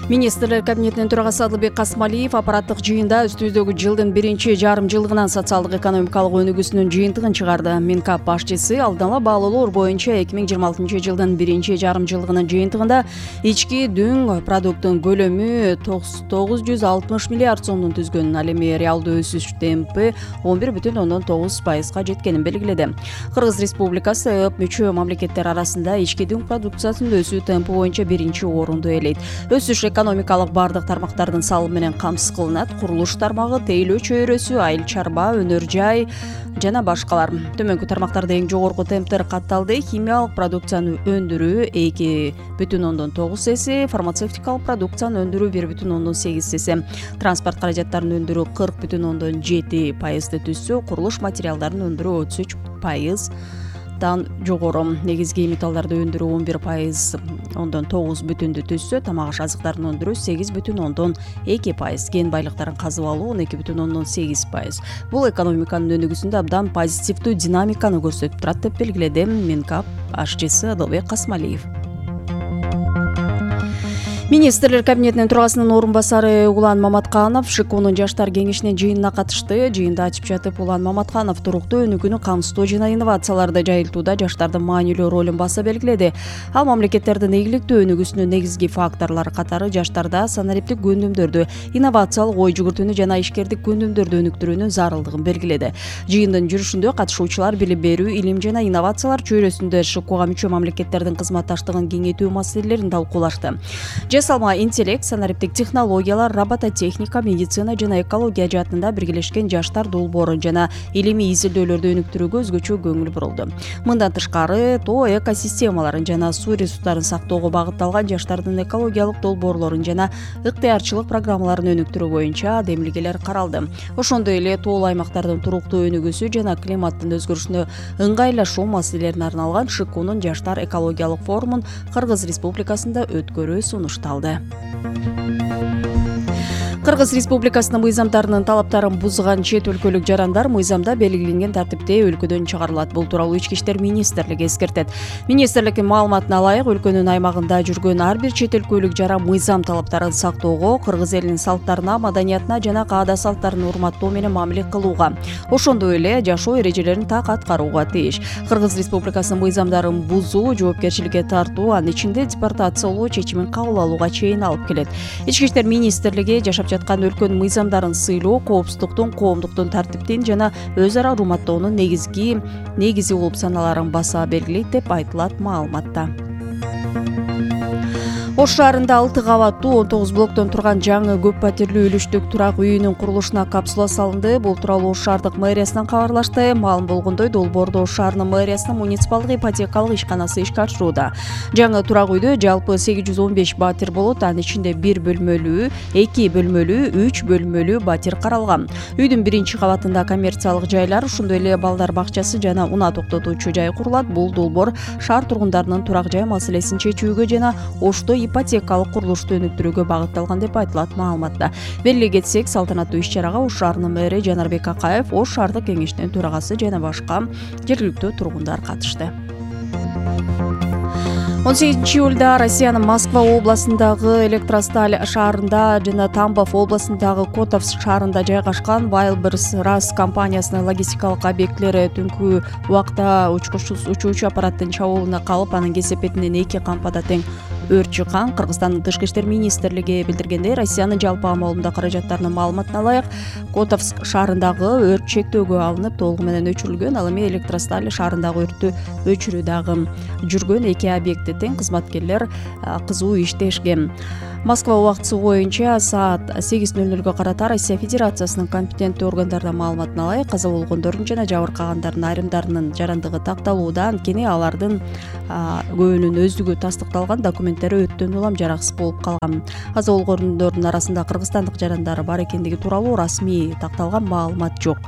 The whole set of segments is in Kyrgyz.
Министрлер кабинетинин төрагасы Адылбек Касмалиев аппараттык жыйында үстүбүздөгү жылдын биринчи жарым жылдыгынан социалдык экономикалык өнүгүүсүнүн жыйынтыгын чыгарды. Минкап башчысы алдын ала баалоолор боюнча 2026 жылдын биринчи жарым жылдыгынын жыйынтыгында ички дүң продукттун көлөмү 960 миллиард сомдун түзгөнүн, ал эми реалдуу өсүш темпи 11,9%га жеткенин белгиледи. Кыргыз Республикасы ЭОП мүчө мамлекеттер арасында ички дүң продукциясынын өсүү темпи боюнча биринчи орунду ээлейт. Өсүш экономикалык бардык тармактардын салымы менен камсыз кылынат. Курулуш тармагы, тейлөө чөйрөсү, айыл чарба, өнөр жай жана башкалар. Төмөнкү тармактарда эң жогорку темптер катталды. Химиялык продукцияны өндүрүү 2,9 эсе, фармацевтикалык продукцияны өндүрүү 1,8 эсе, транспорт каражаттарын өндүрүү 40,7% түзсө, курулуш материалдарын өндүрүү 33% жогору. Негизги металлдарды өндүрүү 11,9 түзсө, тамак аш азыктарын өндүрүү 8,2%, кен байлыктарын казып алуу 12,8%. Бул экономиканын өнүгүүсүндө абдан позитивдүү динамиканы көрсөтүп турат деп белгиледи Минкап башчысы Адылбек Касмалиев. Министрлер кабинетинин төрагасынын орун басары Улан Маматканов ШКУнун жаштар кеңешинин жыйынына катышты. Жыйында ачып жатып Улан Маматканов туруктуу өнүгүүнү камсыздоо жана инновацияларды жайылтууда жаштардын маанилүү ролун баса белгиледи. Ал мамлекеттердин ийгиликтүү өнүгүүсүнүн негизги факторлору катары жаштарда санариптик көндүмдөрдү, инновациялык ой жүгүртүүнү жана ишкердик көндүмдөрдү өнүктүрүүнүн зарылдыгын белгиледи. Жыйындын жүрүшүндө катышуучулар билим берүү, илим жана инновациялар чөйрөсүндө ШКУга мүчө мамлекеттердин кызматташтыгын кеңейтүү маселелерин талкуулашты. Жасалма интеллект, санариптик технологиялар, робототехника, медицина жана экология жаатында биргелешкен жаштар долбоору жана илимий изилдөөлөрдү өнүктүрүүгө өзгөчө көңүл бурулду. Мындан тышкары, тоо экосистемаларын жана суу ресурстарын сактоого багытталган жаштардын экологиялык долбоорлорун жана ыктыярчылык программаларын өнүктүрүү боюнча демилгелер каралды. Ошондой эле тоолуу аймактардын туруктуу өнүгүүсү жана климаттын өзгөрүшүнө ыңгайлашуу маселелерине арналган ШКУнун жаштар экологиялык форумун Кыргыз Республикасында өткөрүү сунушталды. Кыргыз Республикасынын мыйзамдарынын талаптарын бузган чет өлкөлүк жарандар мыйзамда белгиленген тартипте өлкөдөн чыгарылат. Бул тууралуу Ички иштер министрлиги эскертет. Министрликтин маалыматына ылайык, өлкөнүн аймагында жүргөн ар бир чет өлкөлүк жара мыйзам талаптарын сактоого, кыргыз элинин салттарына, маданиятына жана каада салттарын урматтоо менен мамиле кылууга, ошондой эле жашоо эрежелерин так аткарууга тийиш. Кыргыз Республикасынын мыйзамдарын бузуу жоопкерчиликке тартуу, анын ичинде депортациялоо чечимин кабыл алууга чейин алып келет. Ички иштер министрлиги жашап жаткан өлкөнүн мыйзамдарын сыйлоо, коопсуздуктун, коомдуктун тартиптин жана өз ара урматтоонун негизи болуп саналарын баса белгилейт деп айтылат маалыматта. Ош шаарында 6 кабаттуу 19 блоктон турган жаңы көп патирлүү үлүштүк турак үйүнүн курулушуна капсула салынды. Бул тууралуу Ош шаардык мэриясынан кабарлашты. Маалым болгондой, долбоорду Ош шаарынын мэриясынын муниципалдык ипотекалык ишканасы ишке ашырууда. Жаңы турак үйдө жалпы 815 батир болот. Анын ичинде 1 бөлмөлүү, 2 бөлмөлүү, 3 бөлмөлүү батир каралган. Үйдүн биринчи кабатында коммерциялык жайлар, ошондой эле балдар бакчасы жана унаа токтотуучу жай курулат. Бул долбоор шаар тургундарынын турак жай маселесин чечүүгө жана Ошто ипотекалык курулушту өнүктүрүүгө багытталган деп айтылат маалыматта. Белгилей кетсек, салтанаттуу иш-чарага Ош шаарынын мэри Жанарбек Акаев, Ош шаардык кеңешинин төрагасы жана башка жергиликтүү тургундар катышты. 18-июлда Россиянын Москва областындагы Электросталь шаарында жана Тамбов областындагы Котовск шаарында жайгашкан Wildberries RAS компаниясынын логистикалык объектилери түнкү убакта учуучу аппараттын чабуулуна калып, анын кесепетинен 2 кампада тең өрт чыккан. Кыргызстандын Тышкы иштер министрлиги билдиргендей, Россиянын жалпы амалымда каражаттарынын маалыматына ылайык, Котовск шаарындагы өрт чектөөгө алынып, толугу менен өчүрүлгөн. Ал эми Электросталь шаарындагы өрттү өчүрүү дагы жүргөн. 2 объекти тең кызматкерлер кызуу иштешкен. Москва убактысы боюнча саат 8:00 карата Россия Федерациясынын компетенттүү органдарынын маалыматына ылайык, каза болгондордун жана жабыркагандардын айрымдарынын жарандыгы такталууда, анткени алардын көбүнүн өздүгү тастыкталган, документтери өтөн улам жараксыз болуп калган. Каза болгондордун арасында кыргызстандык жарандар бар экендиги тууралуу расмий такталган маалымат жок.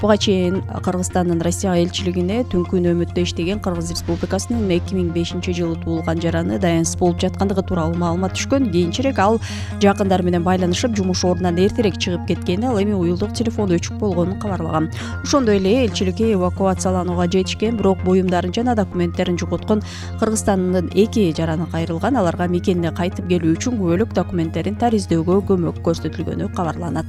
Буга чейин Кыргызстандын Россияга элчилигине түнкү нөөмөттө иштеген Кыргыз Республикасынын 2005-жылы туулган жараны даянсыз болуп жаткандыгы тууралуу маалымат түшкөн. Кийинчерээк ал жакындары менен байланышып, жумуш ордунан эртерээк чыгып кеткени, ал эми уюлдук телефону өчүк болгонун кабарлаган. Ошондой эле элчиликке эвакуацияланууга жетишкен, бирок буюмдарын жана документтерин жоготкон Кыргызстандын 2 жараны кайрылган. аларга мекенине кайтып келүү үчүн күбөлүк документтерин тариздөөгө көмөк көрсөтүлгөнү кабарланат.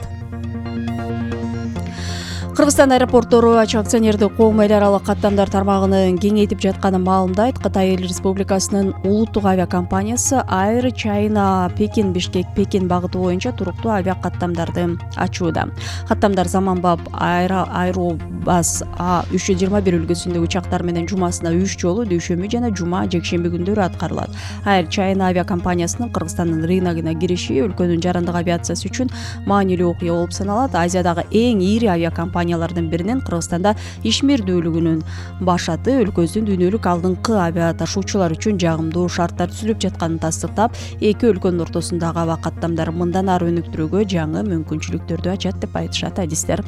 Кыргызстан аэропорттору ачык акционердик коом эл аралык каттамдар тармагын кеңейтип жатканын маалымдайт. Кытай Эл Республикасынын улуттук авиакомпаниясы Air China Pekin Bishkek Pekin багыты боюнча туруктуу авиакаттамдарды ачууда. Каттамдар заманбап Airbus A321 үлгүсүндөгү учактар менен жумасына 3 жолу дүйшөмбү жана жума, жекшемби күндөрү аткарылат. Air China авиакомпаниясынын Кыргызстандын рыногуна кириши өлкөнүн жарандык авиациясы үчүн маанилүү окуя болуп саналат. Азиядагы эң ири авиакомпаниялардын биринин Кыргызстанда ишмердүүлүгүнүн башаты өлкөбүздүн дүйнөлүк алдыңкы авиа ташуучулар үчүн жагымдуу шарттар түзүлүп жатканын тастыктап, эки өлкөнүн ортосундагы аба каттамдары мындан ары өнүктүрүүгө жаңы мүмкүнчүлүктөрдү ачат деп айтышат адистер.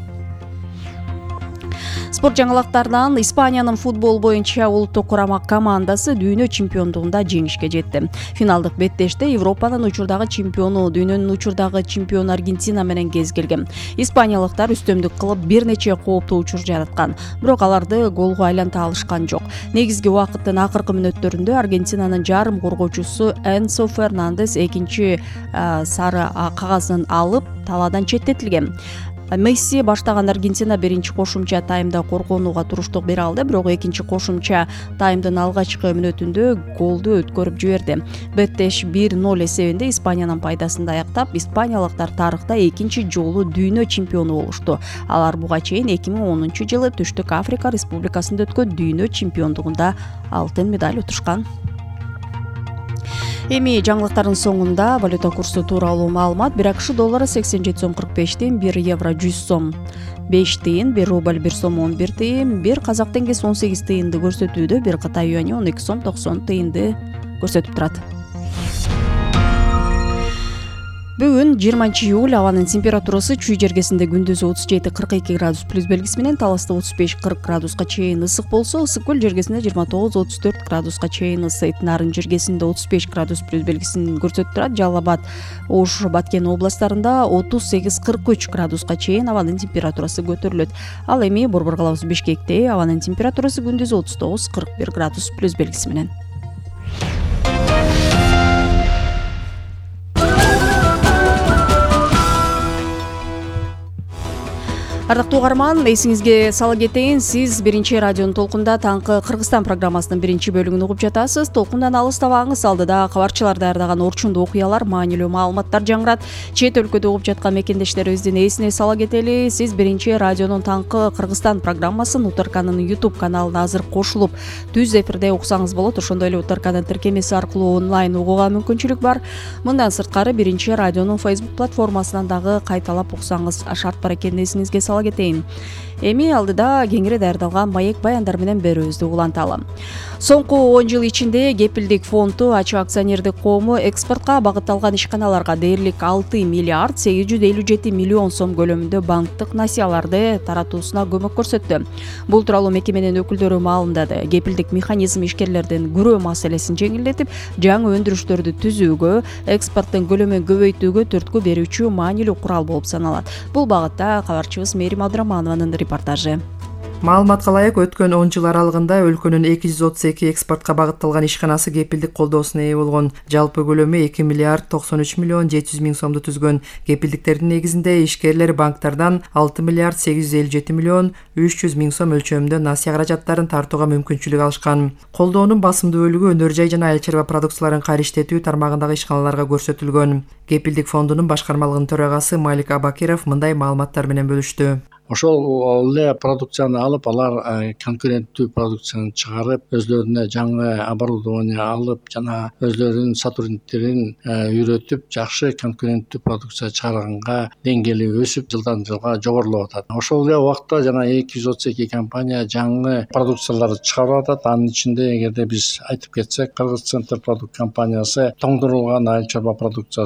Спорт жаңылыктарынан Испаниянын футбол боюнча улуттук курама командасы дүйнө чемпиондугунда жеңишке жетти. Финалдык беттеште Европанын учурдагы чемпиону, дүйнөнүн учурдагы чемпиону Аргентина менен кез келген. Испаниялыктар үстөмдүк кылып бир нече кооптуу учур жараткан, бирок аларды голго айланта алышкан жок. Негизги убакыттын акыркы мүнөттөрүндө Аргентинанын жарым коргоочусу Энсо Фернандес экинчи сары кагазын алып талаадан четтетилген. Месси баштаган Аргентина биринчи кошумча таймда коргонууга туруштук бере алды, бирок экинчи кошумча таймдын алгачкы мүнөтүндө голду өткөрүп жиберди. Беттеш 1-0 эсебинде Испаниянын пайдасында аяктап, испаниялыктар тарыхта экинчи жолу дүйнө чемпиону болушту. Алар буга чейин 2010-жылы Түштүк Африка Республикасында өткөн дүйнө чемпиондугунда алтын медаль утушкан. Эми жаңылыктардын соңунда валюта курсу тууралуу маалымат. 1 АКШ доллары 87 сом 45 тыйын, 1 евро 100 сом 5 тыйын, 1 рубль 1 сом 11 тыйын, 1 казак теңгеси 18 тыйынды көрсөтүүдө, 1 Кытай юани 12 сом 90 тыйынды көрсөтүп турат. Бүгүн 20 июль, абанын температурасы чүй жергесинде күндүзү 37-42 градус плюс белгиси менен, таласта 35-40 градуска чейин ысык болсо, ысык көл жергесинде 29-34 градуска чейин ысыйт. Нарын жергесинде 35 градус плюс белгисин көрсөтүп турат. Жалал Абад, Ош, Баткен областарында 38-43 градуска чейин абанын температурасы көтөрүлөт. Ал эми Борбор калабыз Бишкекте абанын температурасы күндүзү 39-41 градус плюс белгиси менен. Ардактуу угарман, эсиңизге сала кетейин, сиз биринчи радионун толкунда таңкы Кыргызстан программасынын биринчи бөлүгүн угуп жатасыз. Толкундан алыстабаңыз, алдыда кабарчылар даярдаган орчундуу окуялар, маанилүү маалыматтар жаңырат. Чет өлкөдө угуп жаткан мекендештерибиздин эсине сала кетели. Сиз биринчи радионун таңкы Кыргызстан программасын УТРКнын YouTube каналына азыр кошулуп, түз эфирде уксаңыз болот. Ошондой эле УТРКнын тиркемеси аркылуу онлайн угууга мүмкүнчүлүк бар. Мындан сырткары биринчи радионун Facebook платформасынан дагы кайталап уксаңыз шарт бар экенин эсиңизге сала кетейин. Эми алдыда кеңири даярдалган маек баяндар менен берүүбүздү уланталы. Соңку 10 жыл ичинде Кепилдик фонду ачык акционердик коому экспортко багытталган ишканаларга дээрлик 6 миллиард 857 миллион сом көлөмүндө банктык насыяларды таратуусуна көмөк көрсөттү. Бул тууралуу мекеменин өкүлдөрү маалымдады. Кепилдик механизм ишкерлердин күрөө маселесин жеңилдетип, жаңы өндүрүштөрдү түзүүгө, экспорттун көлөмүн көбөйтүүгө түрткү берүүчү маанилүү курал болуп саналат. Бул багытта кабарчыбыз Мээрим Абдыраманованын репортажы. Маалыматка ылайык, өткөн 10 жыл аралыгында өлкөнүн 232 экспортко багытталган ишканасы кепилдик колдоосуна ээ болгон. Жалпы көлөмү 2 миллиард 93 миллион 700 миң сомду түзгөн. Кепилдиктердин негизинде ишкерлер банктардан 6 миллиард 857 миллион 300 миң сом өлчөмүндө насыя каражаттарын тартууга мүмкүнчүлүк алышкан. Колдоонун басымдуу бөлүгү өнөр жай жана айыл чарба продукцияларын кайрыштетүү тармагындагы ишканаларга көрсөтүлгөн. Кепилдик фондунун башкармалыгынын төрагасы Малик Абакиров мындай маалыматтар менен бөлүштү. Ошол эле продукцияны алып, алар конкуренттүү продукцияны чыгарып, өзлөрүнө жаңы оборудование алып, жана өзлөрүнүн сотрудниктерин үйрөтүп, жакшы конкуренттүү продукция чыгарганга деңгээли өсүп, жылдан жылга жогорулуп атат. Ошол эле убакта жана 232 компания жаңы продукцияларды чыгарып атат. Анын ичинде эгерде биз айтып кетсек, Кыргыз Центр продукт компаниясы тоңдурулган айыл чарба продукциясы